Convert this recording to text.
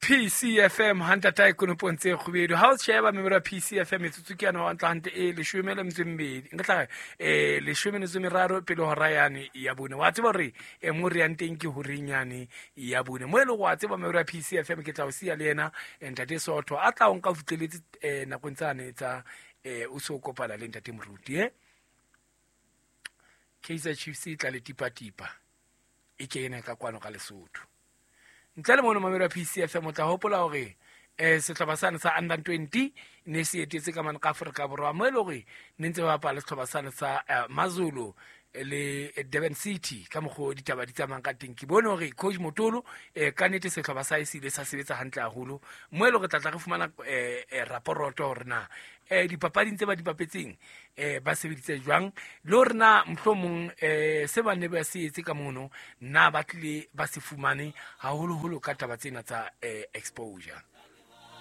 PCFM hantata e konopong tse kgubedu. Ha o sheba memero ya PCFM metsotso ke yana hantle hantle e leshome le metso e mmedi, nka tla leshome metso e meraro pele hora yane ya bone. Wa tseba hore mo re yang teng ke horeng yane ya bone, mo e leng wa tseba memero ya PCFM ke tla o siya le yena ntate Sotho a tla o nka o fihleletse nakong tsane tsa o so kopana le ntate Moruti. Kaizer Chiefs e tla le tipatipa e kene ka kwano ka Lesotho. Ntle le mono mamelo ya PCFM o tla hopola hore sehlopha sane sa under 20 ne se etetse ka mane ka Afrika Borwa, mo e le hore ne ntse ba bapala sehlopha sane sa Mazulu le Durban City. Ka mokgwa o ditaba di tsamayang ka teng, ke bone hore coach Motolo ka nnete sehlopha sa hae se ile sa sebetsa hantle haholo, mo e le hore tla tla re fumana raporoto hore na dipapading tse ba di bapetseng ba sebeditse jwang, le hore na mohlomong se ba ne ba se etse ka mono na ba tlile ba se fumane haholoholo ka taba tsena tsa exposure.